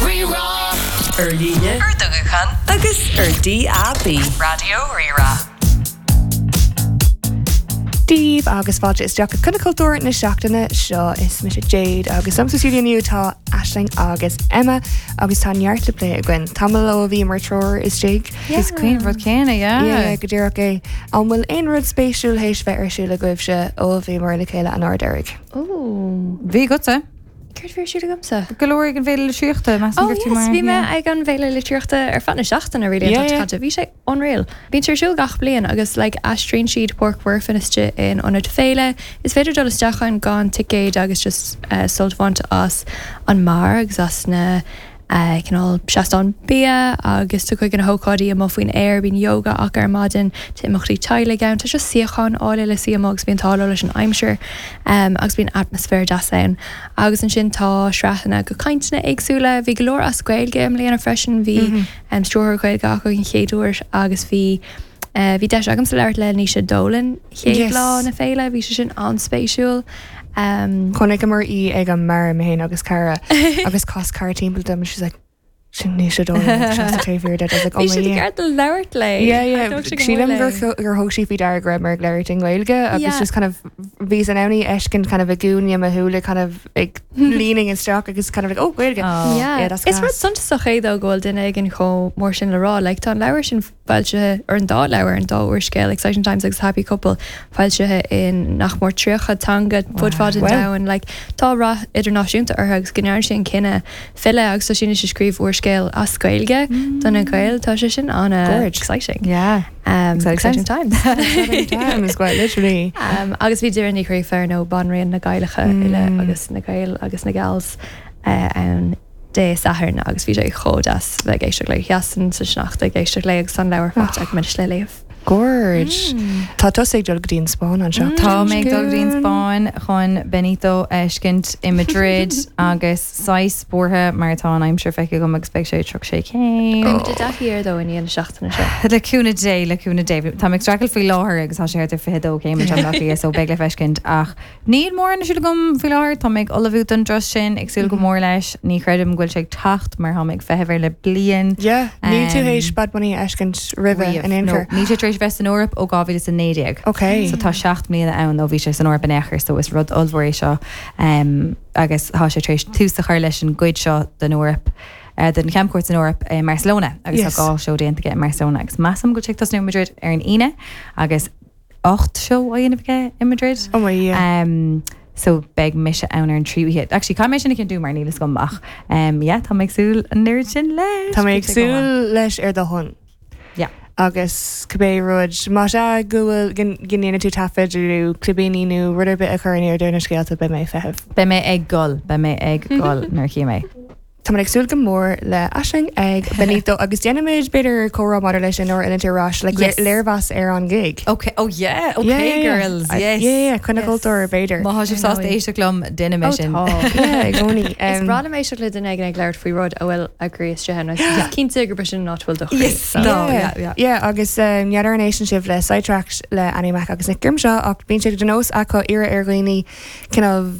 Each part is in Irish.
Rí-Rá. Ar líne, Ar do ghuthán agus ar DAB. Raidió Rí-Rá. Dia daoibh agus fáilte isteach go Coinne Cultúir na seachtaine seo. Is mise Jade agus liom sa stiúideo inniu tá Aisling agus Emma agus tá neart le plé againn. Tamall ó bhíomar triúr istigh. Is cuimhin rud céanna, yeah. Yeah, go díreach é. An bhfuil aon rud spéisiúil théis bheith ar siúl agaibhse ó a bhíomar le chéile an uair deiridh? Ooh. Bhí agatsa? Céard a bhí ar siúl agamsa? Go leor ag an bhFéile Litríochta, measaim Oh go raibh tú yes, mar bhí mé yeah. ag an bhFéile Litríochta ar feadh na seachtaine really an Yeah, tseachtain yeah. caite. Bhí sé unreal. Bíonn sé ar siúl gach bliain agus like aistríonn siad Páirc Mhuirfean istigh in ionad féile. Is féidir dul isteach ann gan ticéad agus just eh, sult a bhaint as an mbeár agus as na cineál seastáin bia agus tá cuid de na hócáidí amuigh faoin aer, bíonn yoga acu ar maidin, tá imeachtaí teaghlaigh ann, tá just suíocháin áille le suí amuigh agus bíonn an t-ádh leo leis an aimsir agus bíonn atmaisféar deas ann. Agus ansin tá sraitheanna de cainteanna éagsúla, bhí go leor as Gaeilge i mbliana freisin, bhí stiúrthóir Gaeilge acu an chéad uair agus bhí bhí deis agamsa labhairt le Naoise Dolan chéad lá na féile, bhí sé sin an-spéisiúil. Chonaiceamar í ag an mbeár, mé féin agus cara, agus chas cara timpeall dom and she's like, sin Naoise Dolan seasta taobh thiar duit. I was like, oh Bhí my siad Dhia. ag iarraidh labhairt léi. Yeah, yeah. Thóg sé go mór Sílim gur léi. gur thóg sí faoi deara go raibh mé ag labhairt i nGaeilge agus Yeah. just kind of bhíos in ann í a fheiscint kind of i gcúinne mo shúile kind of ag leaning isteach agus kind of like, oh, Gaeilge. Oh. Yeah. Yeah, that's Is rud class. suntasach é though go bhfuil duine éigin chomh mór sin le rá. Like tá an leabhar sin foilsithe, ar an dá leabhar, an dá úrscéal, Exciting Times agus Happy Couple, foilsithe in nach mór 30 teanga fud fad an domhain. Like, tá rath idirnáisiúnta orthu agus go ndearna sé an cinneadh filleadh agus tá sé anois ag scríobh úrscéal as Gaeilge do na Gaeil. Tá sé sin an-exciting. Yeah. Um, Exciting exciting times. Exciting times, quite literally. Um, agus bhí Doireann Ní Ghríofa ar ndóigh banríon na Gaelacha uile agus na Gaeil agus na Gals uh, ann. Dé Sathairn agus bhí sé chomh deas bheith ag éisteacht léi. Sheasainn sa sneachta ag éisteacht léi agus tá an leabhar faighte agam anois le léamh. Gorge. Tá tusa ag dul go dtí an Spáinn an seachtain Tá mé ag dul go dtí an Spáinn chun Benito a fheiscint i Madrid agus saghas buartha mar tá an aimsir feicthe agam agus beidh sé 36 céim. Beidh muid i dtaithí air though i ndiaidh na seachtaine seo. Le cúnamh Dé, le cúnamh Dé. Tá mé ag streachailt faoi láthair agus tá sé thart ar 22 céim anseo i mBaile Átha Cliath so beidh le feiscint ach Níl mórán ar siúl agam faoi láthair. Tá mé ag ullmhú don dturas sin, ag súil go mór leis. Ní chreidim go bhfuil sé ag teacht mar tá mé ag feitheamh air le bliain. Yeah, níl tú théis Bad Bunny a fheiscint roimhe in aon chor. Níl sé tar éis bheith san Eoraip ó 2019. Ok. So tá 7 mbliana ann ó bhí sé san Eoraip in aon chor so is rud ollmhór é seo agus tá sé tar éis tús a chur leis an gcuid seo den Eoraip den chamchuairt san Eoraip i mBarcelona agus tá 2 seó déanta aige i mBarcelona agus measaim go bhfuil sé ag tosnú i Madrid ar an Aoine agus 8 seó á dhéanamh aige i Madrid. Oh my Dhia. Um, so beidh mise ann ar an tríú oíche. Actually, caithfidh mé sin a chinntiú mar níl fhios agam ach um, yeah, tá mé ag súil an oiread sin leis. Tá mé ag Beidh sé go maith. súil leis ar do shon. Yeah. Agus cibé rud, más ea go bhfuil, go ndéanfaidh tú taifead nó clibíní nó rud ar bith a chur in airde ar na scéalta, beidh mé ag feitheamh. Beidh mé ag gol, beidh mé ag gol nuair a chífidh mé. Tá mé ag súil go mór le Aisling ag Benito agus déanfaimid b'fhéidir comhrá maidir leis sin nuair a fhilleann tú ar ais, like Yes. léirmheas ar an gig. Ok, oh yeah, ok Yeah, yeah, yeah. girls, I- yes. Yeah, yeah, coinne cultúir b'fhéidir. Má tá sibh sásta éisteacht liom, déanfaidh mé Oh, sin. tá. Yeah, i gcónaí. Is Um, breá liom éisteacht le duine éigin ag labhairt faoi rud a bhfuil a gcroí istigh ann. Is cinnte gurb é sin an áit a bhfuil do chroí. Yes, so. no, yeah, yeah. Yeah, agus um, n'fheadar an éisteann sibh le Sidetracked le Annie Mac agus Nick Grimshaw ach bíonn sé de nós acu iarraidh ar dhaoine cineál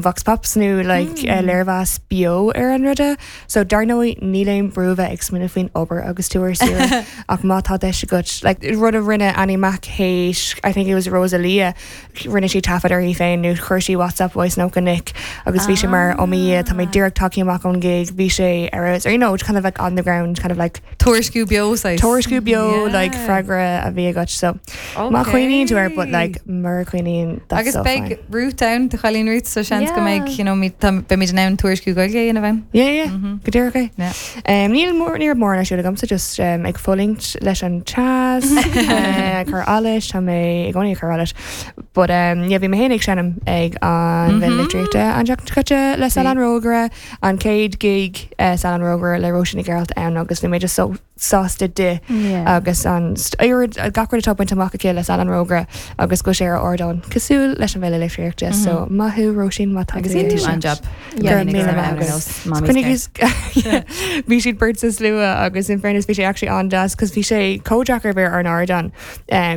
vox pops nó like léirmheas beo ar an ruda. So dar ndóigh níl aon brú bheith ag smaoineamh faoin obair agus tú ar saoire ach má tá deis agat like rud a rinne Annie Mac théis I think it was Rosalia rinne sí taifead uirthi féin nó chuir sí WhatsApp voice note go Nick agus bhí sé mar oh mo Dhia tá mé díreach tagtha amach ón gig bhí sé ar a you know kind of like on the ground kind of like Tuairisciú beo saghas. Tuairisciú beo like Yeah. freagra a bhí agat so má chuimhníonn tú air but like mura cuimhníonn that's Agus so beidh fine. Ruth ann, do chailín Ruth, so seans go Yeah. mbeidh, you know, mi- tá- beimid in ann tuairisciú Gaeilge a dhéanamh ann. Yeah, yeah, go díreach é. Yeah. Um, níl mór ní raibh mórán ar siúl agamsa just um, ag fulaingt leis an teas, uh, ag cur allais, tá mé i gcónaí ag cur allais. But um, yeah, bhí mé féin ag seinm ag an Bhféile Litríochta an tseachtain seo caite le Saol an Rógaire, an chéad gig uh, Saol an Rógaire le Róisín Nic Gearailt ann agus bhí mé just so sásta di agus an oiread gach rud atá bainte amach aici le Saol an Rógaire agus go bhfuil sé ar ardán cosúil leis an bhFéile Litríochta so maith thú Róisín má tá Agus tú dhein tú ag an-jab. Go raibh míle maith agat. Fós, Mamaí Bhí siad beirt sa slua agus in fairness bhí sé actually an-deas cos bhí sé chomh deacair bheith ar an ardán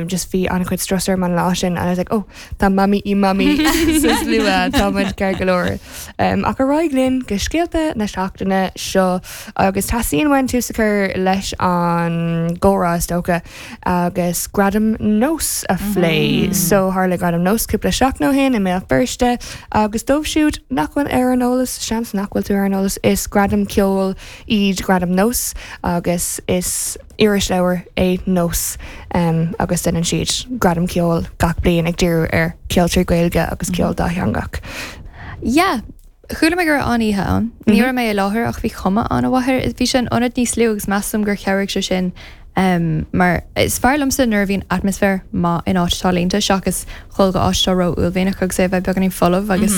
just bhí an-chuid strus orm an lá sin and I was like oh tá mamaí i mamaí sa slua tá muid ceart go leor. Ach ar aghaidh linn go scéalta na seachtaine seo agus teastaíonn uainn tús a chur leis an gcomhrá is dócha agus Gradaim Nós a phlé. So tharla Gradaim Nós cúpla seachtain ó shin i mBéal Feirste agus dóibh siúd nach bhfuil ar an eolas, seans nach bhfuil tú ar an eolas, is gradaim ceoil iad Gradaim Nós agus is irisleabhar é Nós agus déanann siad gradaim ceoil gach bliain ag díriú ar cheol trí Ghaeilge agus ceol dátheangach. Yeah. Chuala mé go raibh an-oíche ann. Ní raibh mé i láthair ach bhí cuma an-mhaith air. Bhí sé in ionad níos lú agus measaim gur chabhraigh sé sin mar is fearr liomsa nuair a bhíonn atmaisféar maith in áit atá líonta seachas dhul go áit atá ró-uaillmhianach agus é a bheith beagáinín folamh agus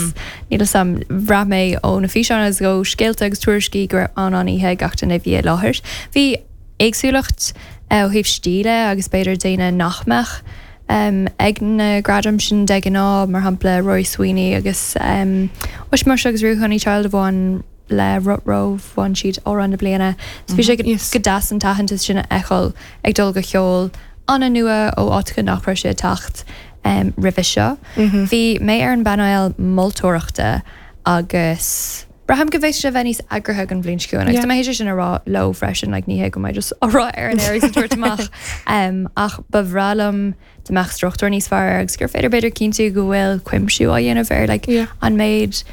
níl 'fhios a'm, bhraith mé ó na físeáin agus ó scéalta agus tuairiscí go raibh an-an-oíche ag gach duine a bhí i láthair. Bhí éagsúlacht ó thaobh stíle agus b'fhéidir daoine nach mbeadh ag na gradaim sin de ghnáth, mar shampla Rory Sweeney agus Ushmush agus Ruadh Honeychild a bhain le Rutrow, bhain siad Amhrán na Bliana. So bhí sé go deas an t-aitheantas sin a fheiceáil ag dul go cheol an-nua ó áiteacha nach raibh sé ag teacht roimhe seo. Bhí mé ar an bpainéal moltóireachta agus. Braithim go bhféadfadh sé a bheith níos eagraithe don bhliain seo chugainn agus tá mé théis é sin a rá leo freisin, like ní hé go mbeidh just á rá ar an aer agus ag tabhairt amach ach ba bhreá liom dá mbeadh struchtúr níos fearr air agus gur féidir b'fhéidir cinntiú go bhfuil cuimsiú á dhéanamh ar like an méid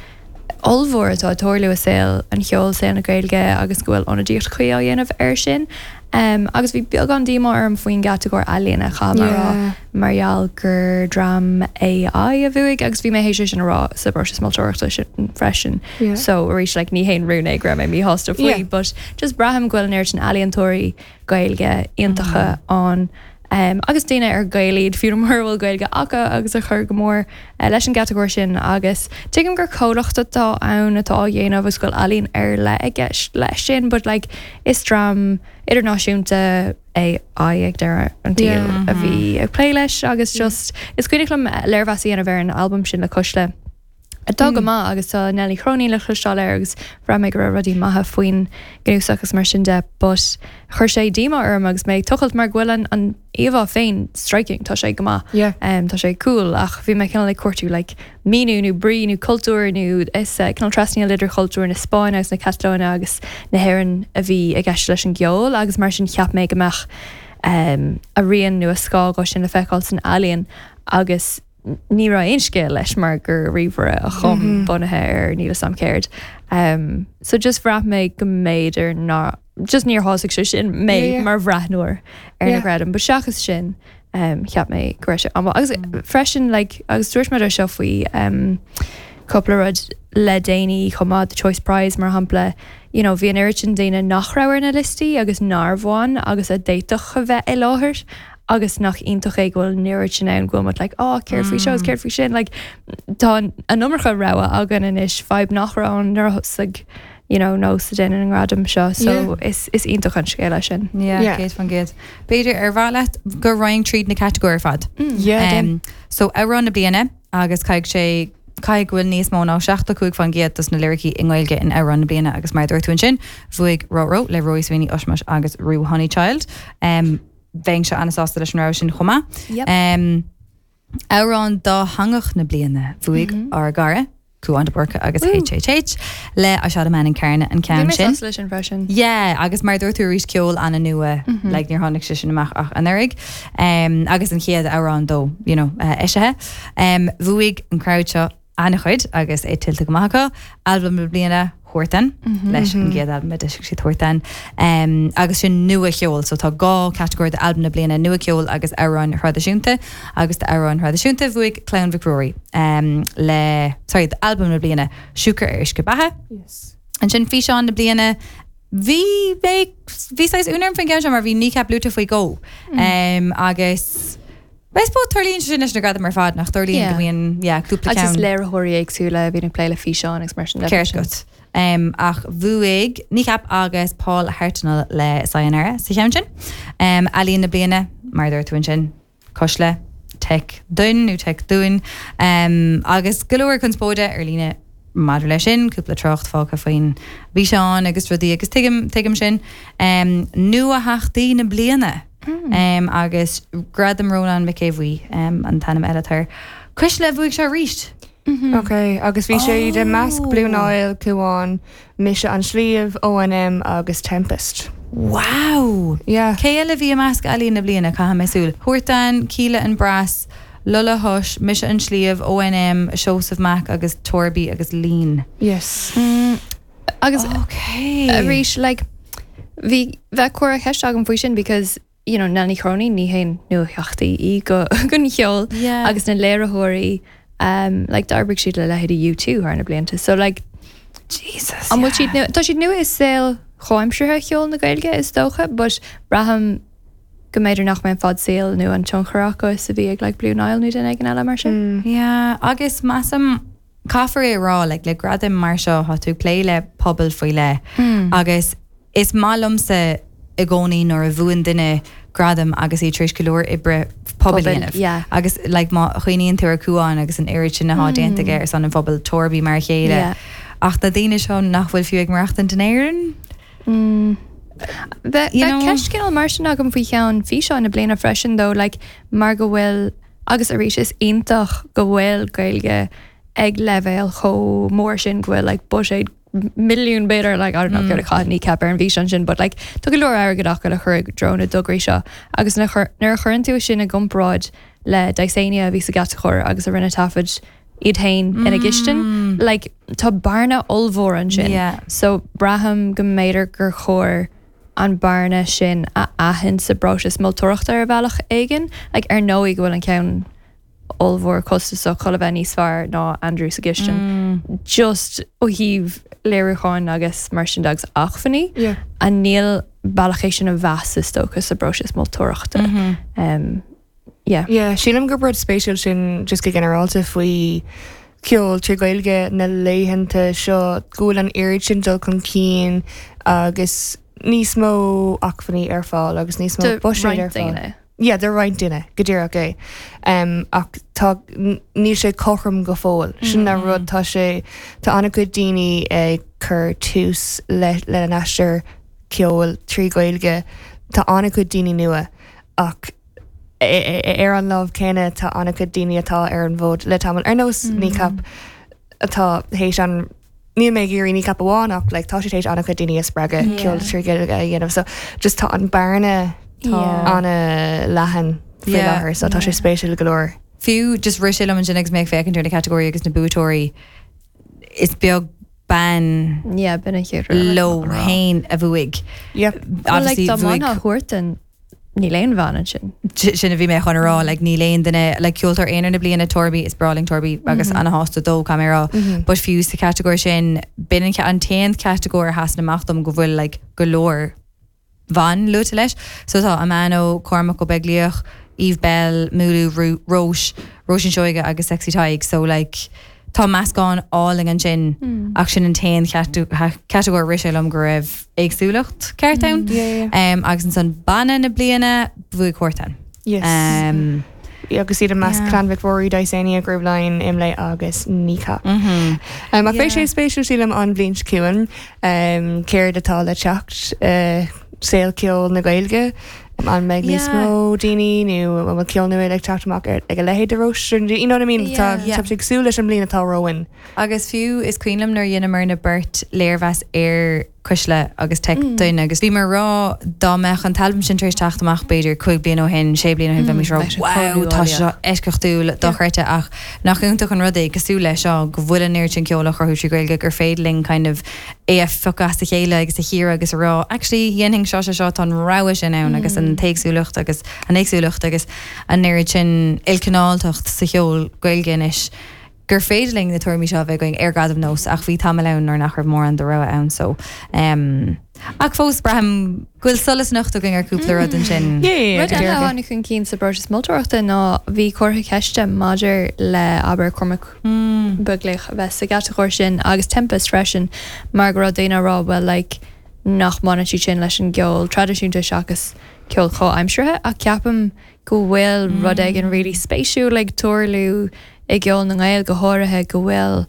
ollmhór atá ag tarlú i saol an cheoil, saol na Gaeilge agus go bhfuil ionadaíocht chuí á dhéanamh air sin. Agus bhí beagán díomá orm faoin gcatagóir ealaíona, caithfidh mé a rá, mar gheall gur dream AI a bhuaigh agus bhí mé théis é sin a rá sa bpróiseas moltóireachta sin freisin. So arís like ní haon rún é go raibh mé míshásta faoi but just braithim go bhfuil an oiread sin ealaíontóirí Gaeilge iontacha ann agus daoine ar Gaeil iad fiú mura bhfuil Gaeilge acu agus a chuir go mór leis an gcatagóir sin agus tuigim gur comhlacht atá ann atá á dhéanamh agus go bhfuil ealaín ar leith i gceist leis sin but like is dream idirnáisiúnta AI ag deireadh an tsaoil a bhí ag plé leis agus just is cuimhneach liom léirmheas a dhéanamh ar an albam sin le Cuisle atá go maith agus tá Nell Ní Chróinín le cloisteáil air agus bhraith mé go raibh rudaí maithe faoin gcnuasach agus mar sin de but chuir sé díomá orm agus mé ag tochailt mar go bhfuil an an íomhá féin striking, tá sé go maith, Yeah. um, tá sé cool ach bhí mé cineál ag cuartú like míniú nó brí nó cultúr nó is uh, cineál trasnaíl idir chultúr na Spáinne agus na Catalóine agus na hÉireann a bhí i gceist leis an gceol agus mar sin cheap mé go mbeadh um, a rian nó a scáth dhó sin le feiceáil san ealaíon agus ní raibh aon scéal leis mar gur ríomhaire a chum bunaithe ar níl 'fhios a'm céard. So just bhraith mé go mb'fhéidir ná just níor shásaigh sé sin mé mar bhreathnóir ar na gradaim. But seachas sin cheap mé go raibh sé an-mhaith. Agus freisin like agus dúirt muid é seo faoi cúpla rud le déanaí chomh maith, the Choice Prize mar shampla, you know bhí an oiread sin daoine nach raibh ar na liostaí agus nár bhain agus a d'fhéadfadh a bheith i láthair agus nach iontach é go bhfuil an oiread sin ann go bhfuil muid like oh céard faoi seo agus céard faoi sin like tá an iomarca rogha againn anois fadhb nach raibh ann nuair a thosaigh you know nós ag déanamh na ngradam seo so Yeah. is is iontach an scéal é sin. Yeah, Yeah. 100%. B'fhéidir ar mhaith leat go raghainn tríd na catagóirí ar fad. Yeah, déan. So amhrán na bliana agus caithfidh sé caithfidh go bhfuil níos mó ná 75% dos na liricí i nGaeilge in amhrán na bliana agus mar a dúirt tú ansin bhuaigh Rutrow le Rory Sweeney, Ushmush agus Ruadh Honeychild. Um, Bheinnse an-sásta leis an rogha sin chomh maith. Yep. Amhrán dátheangach na bliana, bhuaigh ár gcara, Cúán de Búrca agus HHH le I Shot a Man in Carna an Bhí ceann mé sin. sásta leis sin freisin. Yeah, agus mar a dúirt tú arís ceol an-nua, like níor tháinig sé sin amach ach anuraidh. Agus an chéad amhrán dó, you know, eisithe. Bhuaigh an crowd seo an-chuid agus é tuillte go maith acu. Albam na bliana, Huartan, leis an gcéad albam a d'eisigh siad Huartan. Agus sin nua-cheol, so tá dhá chatagóir d'albam na bliana, nua-cheol agus amhráin thraidisiúnta. Agus d'amhráin thraidisiúnta bhuaigh Clann Mhic Ruairí le, sorry, d'albam na bliana, Siúcra ar Uisce Beatha. Ansin físeán na bliana, bhí mé, bhí saghas ionadh orm faoin gceann seo mar bhí Kneecap luaite faoi dhó. Agus. I suppose tarlaíonn sé sin leis na gradaim ar fad, nach dtarlaíonn Yeah. go mbíonn, yeah, cúpla Agus is ceann. léiritheoirí éagsúla a bhíonn ag plé le físeáin agus mar sin de. Ceart agat. Um, ach bhuaigh Kneecap agus Paul Hartnoll le Sayonara sa cheann sin. Um, Ealaíon na bliana, mar a dúirt tú ansin, Cuisle, Teic Duinn nó Teic Dúinn, um, agus go leor conspóide ar líne. maidir leis sin, cúpla trácht fágtha faoin bhfíseán agus rudaí agus tuigim, tuigim sin. Nuatheachtaí na bliana agus Gradam Rónán Mac Aodha Bhuí an t-ainm eile atá air. Cuisle, bhuaigh sé arís! Ok, agus bhí sé i measc Blue Nile, Cúán, Mise an Sliabh, ONM agus Tempest. Wow! Yeah. Cé eile a bhí i measc Ealaíon na Bliana? Caithfidh mé súil. Huartan, Kíla and Brass, Lola Hush, Mise an Sliabh, ONM, Seosamh Mac agus Torby agus Lean. Yes. Agus Ok. arís, like, bhí, bheadh comhartha ceiste agam faoi sin because, you know, Nell Ní Chróinín, ní haon nuatheachtaí í go, don cheol Yeah. agus na léiritheoirí, um, like, d'oibrigh siad le leithéidí U2 thar na blianta. So, like, Jesus, an bhfuil siad yeah. nua, tá siad nua i saol chomhaimseartha cheol na Gaeilge is dócha, but braithim go mb'fhéidir nach mbeidh an fad saoil nó an tionchar acu is a bhí ag like Blue Nile nó duine éigin eile mar sin. Yeah, agus measaim, caithfear é a rá, like, le gradaim mar seo, tá tú ag plé le pobal faoi leith agus is maith liomsa i gcónaí nuair a bhuann duine gradam agus iad tar éis go leor oibre pobail a dhéanamh. Yeah. Agus like, má chuimhníonn tú ar Cuán agus an oiread sin atá déanta aige ar son an phobail, Torby mar a chéile. Yeah. Ach na daoine seo nach bhfuil fiú ag maireachtaint in Éirinn? Bheadh You know? ceist cineál mar sin agam faoi cheann físeán na bliana freisin though, like, mar go bhfuil, agus arís is iontach go bhfuil Gaeilge ag leibhéal chomh mór sin go bhfuil like buiséad milliún b'fhéidir, like, I don't know céard a chaith Kneecap ar an bhfíseán sin but like tá go leor airgead acu le cur i dtreo na dtograí seo agus nuair a chuireann tú sin i gcomparáid le Dysania a bhí sa gcatagóir agus a rinne taifead iad féin ina gcistin, like tá bearna ollmhór ansin. Yeah. So braithim go mb'fhéidir gur chóir an bearna sin a aithint sa bpróiseas moltóireachta ar bhealach éigin. Like ar ndóigh go bhfuil an ceann ollmhór costasach chun a bheith níos fearr ná Andrew sa gcistin. Just ó thaobh léiriúcháin agus mar sin de agus acmhainní. Yeah. And níl bealach é sin a mheas is dócha sa bpróiseas moltóireachta. Um, yeah. Yeah, sílim gur rud spéisiúil sin just go ginearálta faoi ceol trí Ghaeilge na laethanta seo go bhfuil an oiread sin dul chun cinn agus níos mó acmhainní ar fáil agus níos mó Do buiséid roinnt ar fáil. daoine. Yeah, do roinnt duine, go díreach é. Um, ach tá, níl sé cothrom go fóill. Sin an rud, tá sé, tá an-chuid daoine ag cur tús le, lena n-aistear ceoil trí Ghaeilge. Tá an-chuid daoine nua ach ar an lámh céanna tá an-chuid daoine atá ar an bhfód le tamall, ar nós Kneecap atá théis an, níl mé ag iarraidh Kneecap amháin ach like tá siad théis an-chuid daoine a spreagadh ceol trí Ghaeilge a dhéanamh so just tá an bearna an-leathan faoi láthair so tá sé spéisiúil go leor. Fiú just rith sé liom ansin agus mé ag féachaint ar na catagóirí agus na buaiteoirí, is beag bean Yeah, b'in an chéad rud a leo féin a bhuaigh. Yep. Well, like, Obviously dá bhuaigh mbainfeá Huartan, níl aon bhean ansin. Sin a bhí mé chun a rá, like níl aon duine, like ceoltóir aonair na bliana Torby, is breá linn Torby agus ana-shásta dó, caithfidh mé a rá, but fiú sa chatagóir sin, b'in an an t-aon chatagóir a sheasann amach dom go bhfuil like go leor ban luaite leis. So tá Amano, Cormac Ó Beaglaoich, Eve Belle, Múlú, Róis, Róisín Seoige agus Sexy Tadhg. So like tá meascán álainn ansin ach sin an t-aon chatagóir a rith sé liom go raibh éagsúlacht ceart ann. Agus ansan banna na bliana, bhuaigh Huartan. Yes. Agus iad i measc Clann Mhic Ruairí, Dysania, Grooveline, Imlé agus Kneecap. Ach beidh sé spéisiúil sílim an bhliain seo chugainn céard atá le teacht i saol ceoil na Gaeilge. An mbeidh níos mó daoine nó an bhfuil ceol nua ag teacht amach ag a leithéid de Róis? You know what I mean? Tá sé ag súil leis an mbliain atá romhainn. Agus fiú is cuimhin liom nuair a dheineamar beirt léirmheas ar Cuisle agus Teic Duine agus bhíomar ag rá dá mbeadh an t-albam sin tar éis teacht amach b'fhéidir cúig bliana ó shin, sé bliana ó shin bheimis ag rá wow tá sé seo eisceachtúil, dochreidte ach nach iontach an rud é cosúil le seo go bhfuil an oiread sin ceoil á chruthú trí Ghaeilge gur féidir linn kind of é a phiocadh as a chéile agus a chíoradh agus a rá actually dhéanfainn seo seo seo tá an rogha sin ann agus an t-éagsúlacht agus an éagsúlacht agus an oiread sin ilchineáltacht sa cheol Gaeilge anois gur féidir linn na tuairimí seo a bheith againn ar Ghradaim Nós ach bhí tamall ann nuair nach raibh mórán de rogha ann so em ach fós braithim go bhfuil solas anocht againn ar cúpla rud ansin. Rud eile a tháinig chun cinn sa bpróiseas moltóireachta ná bhí comhartha ceiste maidir le abair Cormac Beaglaoich a bheith sa gcatagóir sin agus Tempest freisin mar go raibh daoine á rá bhuel like nach mbaineann siad sin leis an gceol traidisiúnta seachas ceol comhaimseartha ach ceapaim go bhfuil rud éigin really spéisiúil ag tarlú i gceol na nGael go háirithe go bhfuil.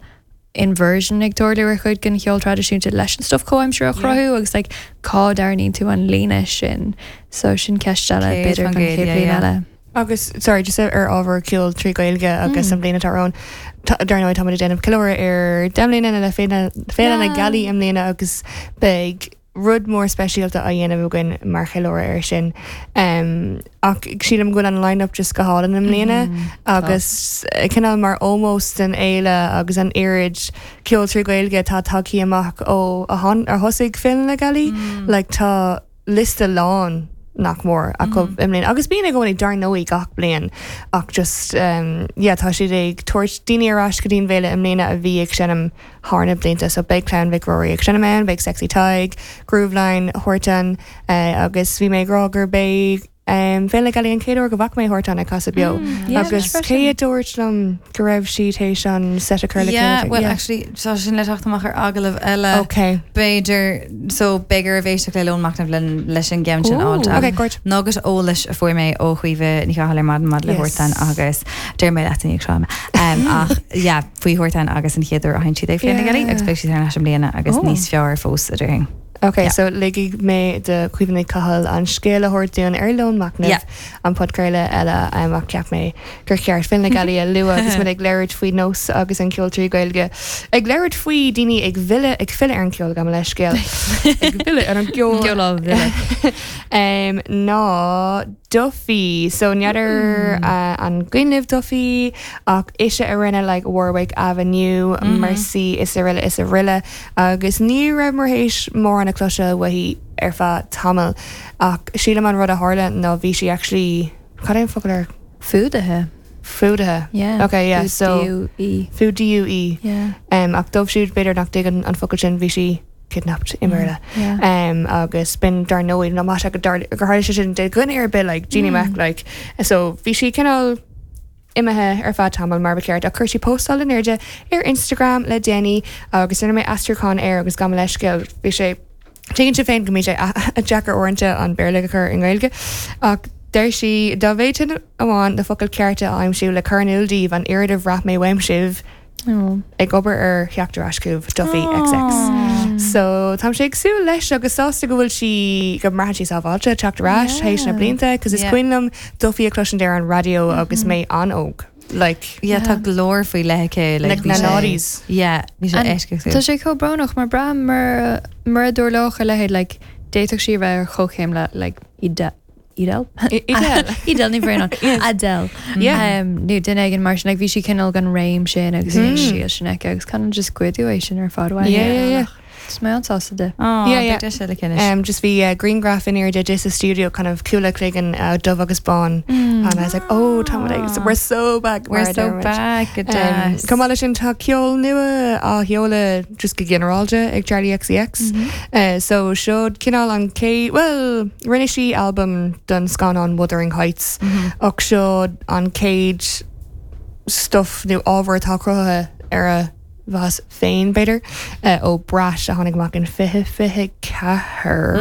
inversion ag tarlú ar chuid den cheol traidisiúnta leis an stuff comhaimseartha a chruthú agus like cá dtarraingíonn tú an líne sin so sin ceist eile b'fhéidir don chéad bhliain eile. Agus sorry just ar ábhar ceol trí Ghaeilge agus an bhliain atá romhainn, dar ndóigh táimid ag déanamh ceiliúradh ar 10 mbliana le Féile na Gealaí i mbliana agus beidh rud mór speisialta á dhéanamh againn mar cheiliúradh air sin. Ach sílim go bhfuil an line-up just go hálainn i mbliana agus cineál mar ómós don fhéile agus an oiread ceol trí Ghaeilge atá tagtha amach ó a thosaigh Féile na Gealaí. Like tá liosta lán nach mór acu i mbliana. Agus bíonn i gcónaí dar ndóigh gach bliain ach just yeah tá siad ag tabhairt daoine ar ais go dtí an bhféile i mbliana a bhí ag seinm thar na blianta. So beidh Clann Mhic Ruairí ag seinm ann, beidh Sexy Tadhg, Grooveline, Huartan agus bhí mé ag rá gurb é Féile na Gealaí an chéad uair go bhfaca mé Huartan ag casadh beo. Agus cé a dúirt liom go raibh sí théis an set a chur le chéile? Yeah, well actually tá sin le teacht amach ar agallamh eile. Ok. B'fhéidir, so beidh oraibh éisteacht le Lón Machnaimh leis an gceann sin a fháil. Ok, great. Nugget eolais a fuair mé ó Chaoimhe Ní Chathail ar maidin maidir le Huartan agus déarfaidh mé leat i ndiaidh seo, ach yeah, faoi Huartan agus an chéad uair a sheinn siad ag Féile na Gealaí agus beidh siad thar n-ais i mbliana agus níos fearr fós a déarfainn. Ok, so ligfidh mé do Chaoimhe Ní Chathail an scéal a thabhairt dúinn ar Lón Machnaimh, an podchraoladh eile ach cheap mé gur cheart Féile na Gealaí a lua agus muid ag labhairt faoi nós agus an ceol trí Ghaeilge. Ag labhairt faoi daoine ag mhilleadh, ag filleadh ar an gceol, gabh mo leithscéal, ag filleadh ar an gceol. Ceol á mhilleadh. Ná Duffy. So n'fheadar an cuimhin libh Duffy ach ise a rinne like Warwick Avenue, Mercy is araile is araile agus ní rabhamar théis mórán a chloisteáil uaithi ar feadh tamaill ach sílim an rud a tharla ná bhí sí actually cad é an focal ar Fuadaithe. Fuadaithe. Yeah. Ok yeah so F-U-D-U-E. F-U-D-U-E. Yeah. Ach dóibh siúd b'fhéidir nach dtuigeann an focal sin bhí sí kidnapped i mBéarla. Agus b'in dar ndóigh nach maith sé go gur tharla sé sin do dhuine ar bith like Jeannie Mac like so bhí sí cineál imithe ar feadh tamaill mar ba cheart ach chuir sí postáil in airde ar Instagram le déanaí agus rinne mé aistriúchán air agus gabh mo leithscéal bhí sé tuigeann sibh féin go mbíonn sé deacair uaireanta an Béarla a chur i nGaeilge ach deir sí dá bhféadfainn amháin na focail cearta a aimsiú le cur in iúl daoibh an oiread a bhraith mé uaim sibh ag obair ar theacht ar ais chugaibh, Duffy XX. So táimse ag súil leis agus sásta go bhfuil sí, go mbraitheann sí sábháilte teacht ar ais théis na blianta, cos is cuimhin liom Duffy a chloisint ar an raidió agus mé an-óg. Like. Yeah, tá glór faoi leith aici. Like na noughties. Yeah, bhí sé eisceachtúil. Tá sé chomh brónach mar braithim mura mura dtarlódh a leithéid like d'fhéadfadh sí a bheith ar chomhchéim le like Edel. Edel? Edel. Edel Ní Bhraonáin. Adele. Yeah. Nó duine éigin mar sin, like bhí sí cineál den réim sin agus bhí an stíl sin aici agus kind of just goideadh é sin ar fad uaithi. Yeah, yeah, yeah. Tá mé an-sásta di. Aw, Yeah, yeah. beidh deis eile aici anois. Just bhí grianghraf in airde di sa stiúideo kind of cúl a cloigeann dubh agus bán and I was like oh tá muid ag we're so back We're mar a so deir muid. back, go deas. Chomh maith leis sin tá ceol nua á sheoladh just go ginearálta ag Charli XCX. So seo cineál an chéad, bhuel, rinne sí albam don scannán Wuthering Heights ach seo an chéad stuff nó ábhar atá cruthaithe ar a bhas féin, b'fhéidir, ó Brat a tháinig amach in 2024.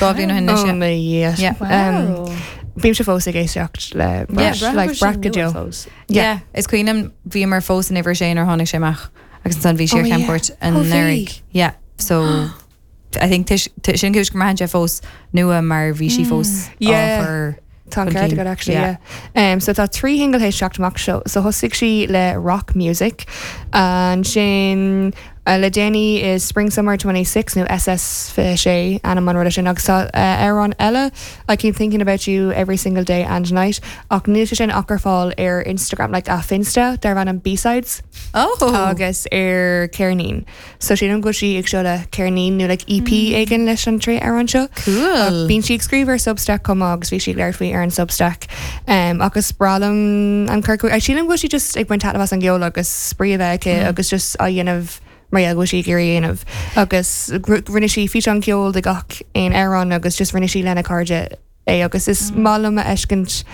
Dhá bhliain ó shin anois, Oh my Dhia. Yeah. Wow. Bímse fós ag éisteacht le Brat, like Brat go deo. Yeah, is cuimhin liom bhíomar fós in uimhir a sé nuair a tháinig sé amach. Agus ansan bhí sí ar chamchuairt anuraidh. Yeah, so I think sin cúis go mbraitheann sé fós nua mar bhí sí fós á chur Tá an ceart agat actually, yeah. So tá trí shingil théis teacht amach seo. So thosaigh sí le Rock Music, ansin le déanaí is Spring Summer 26 nó SS 26 ainm an ruda sin agus tá amhrán eile I keep thinking about you every single day and night ach níl sé sin ach ar fáil ar Instagram like a Finsta darb ainm B-sides. Oh! Agus ar ceirnín. So sílim go bhfuil sí ag seoladh ceirnín nó like EP éigin leis an trí amhrán seo. Cool! Ach bíonn sí ag scríobh ar Substack chomh maith agus bhí sí ag labhairt faoi ar an Substack. Um, agus is breá liom an cur chuige. Sílim go bhfuil sí just ag baint taitneamh as an gceol agus spraoi a bheith aici agus just á dhéanamh mar gheall go bhfuil sí ag iarraidh a dhéanamh. Agus rinne sí físeán ceoil de gach aon amhrán agus just rinne sí lena cairde é agus is maith liom a fheiscint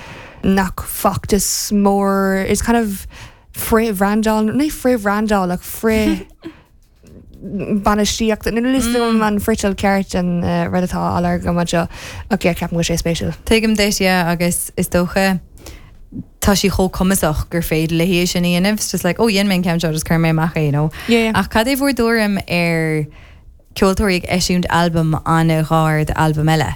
nach feachtas mór, is kind of frith-bhrandáil, ní frith-bhrandáil ach frith bainistíocht, níl a fhios agam an friotal ceart an rud atá á lorg agam anseo ach yeah ceapaim go bhfuil sé spéisiúil. Tuigim duit, yeah, agus is dócha. tá sí chomh cumasach gur féidir léi é sin a dhéanamh. It's just like, oh, dhein mé an ceann seo, just cuir mé amach é, you know. Yeah, yeah. Ach cad é bhur dtuairim ar ceoltóirí ag eisiúint albam an-ghar d'albam eile?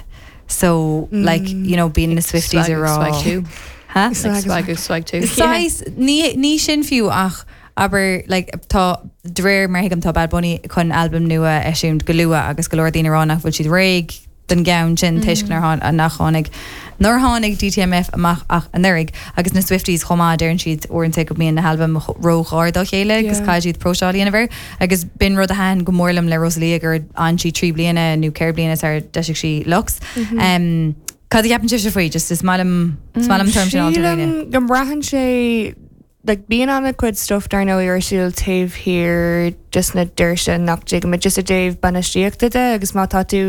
So, like, you know, bíonn na Swifties ag rá. Swag 2. Huh? Like swag swag 2. Saghas, ní, ní sin fiú ach abair, like, tá, de réir mar a thuigim tá Bad Bunny chun albam nua a eisiúint go luath agus go leor daoine ag rá nach bhfuil siad réidh don gceann sin toisc nár nach tháinig nár tháinig DTMF amach ach anuraidh agus na Swifties chomh maith deireann siad uaireanta go mbíonn na halbaim ró-ghar dá chéile agus caithfidh siad próiseáil a dhéanamh air agus b'in rud a thaitin go mór liom le Rosalía gur fhan sí 3 bliana nó 4 bliana sar d'eisigh sí Lux. Cad a cheapann sibhse faoi? Just is maith liom is maith liom an tuairim sin a fháil ó dhaoine. Sílim go mbraitheann sé like bíonn an-chuid stuff dar ndóigh ar siúl taobh thiar des na doirse nach dtuigimid just i dtaobh bainistíochta de agus má tá tú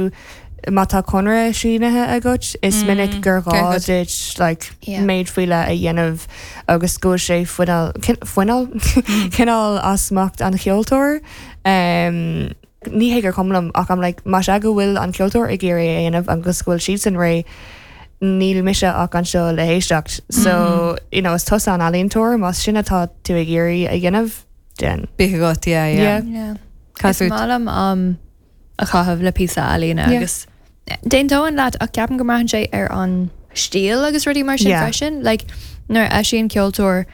má tá conradh sínithe agat is minic gur gá duit like méid faoi leith a dhéanamh agus go bhfuil sé fuinneal fuinneal cineál as smacht an cheoltóir. Um, ní hé gur cuma liom ach I'm like más ea go bhfuil an ceoltóir ag iarraidh é a dhéanamh agus go bhfuil siadsan réidh níl mise ach anseo le héisteacht. So, you know, is tusa an ealaíontóir, más sin atá tú ag iarraidh a dhéanamh, déan. Bíodh agat, yeah, yeah. Yeah. Yeah. Cad Is fút? maith liom am a chaitheamh le píosa ealaíne Yeah. agus d'aontóinn leat ach ceapaim go mbraitheann sé ar an stíl agus rudaí mar sin Yeah. freisin. Like, nuair a eisíonn ceoltóir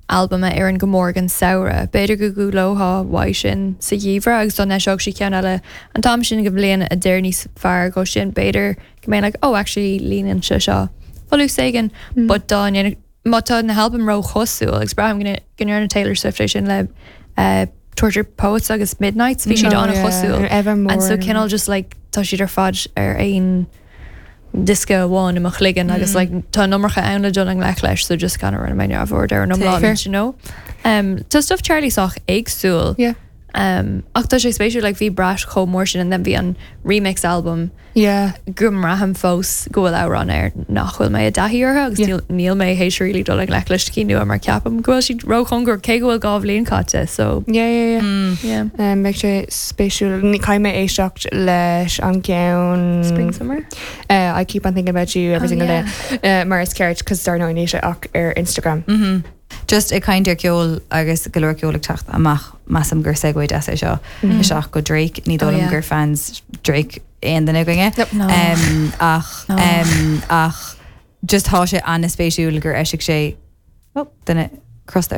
albam a oireann go mór don samhradh, b'fhéidir go gcúlófá uaidh sin sa gheimhreadh agus dá n-eiseodh sí ceann eile an t-am sin den bhliain a d'oir níos fearr dhó sin, b'fhéidir go mbeinn like oh actually líonann sé seo folús éigin but dá ndéanfadh má tá na halbaim ró-chosúil agus braithim go go ndearna Taylor Swift é sin le eh, Tortured Poets agus Midnights bhí siad Oh, an-chosúil yeah, Evermore. and so cineál just like tá siad ar fad ar aon diosca amháin i mo chloigeann agus like tá an iomarca ann le dul i ngleic leis so just kind of rinne mé neamhaird ar an iomlán Fair. you know. Um, tá stuff Charlie sách éagsúil Yeah. um, ach tá sé spéisiúil like bhí Brat chomh mór sin and then bhí an remix album Yeah. go mbraithim fós go bhfuil amhráin air nach bhfuil mé i dtaithí orthu agus Yeah. níl, níl mé théis really dul i ngleic leis na cinn nua mar ceapaim go bhfuil siad róchóngarach cé go bhfuil 2 bhliain caite so Yeah, yeah, yeah. yeah. Um, beidh sé spéisiúil. Ní caithfidh mé éisteacht leis an gceann Spring Summer? Uh, I keep on thinking about you every Oh, single yeah. day. Uh, mar is ceart cos dar ndóigh níl sé ach ar Instagram. Just ag caint ar ceol agus go leor ceol ag teacht amach measaim gur segue deas é seo isteach go Drake. Ní dóigh Oh, liom yeah. gur fans Drake aon duine againne. No. Um, ach No. um, ach just tá sé an-spéisiúil gur eisigh sé oh, duine crosta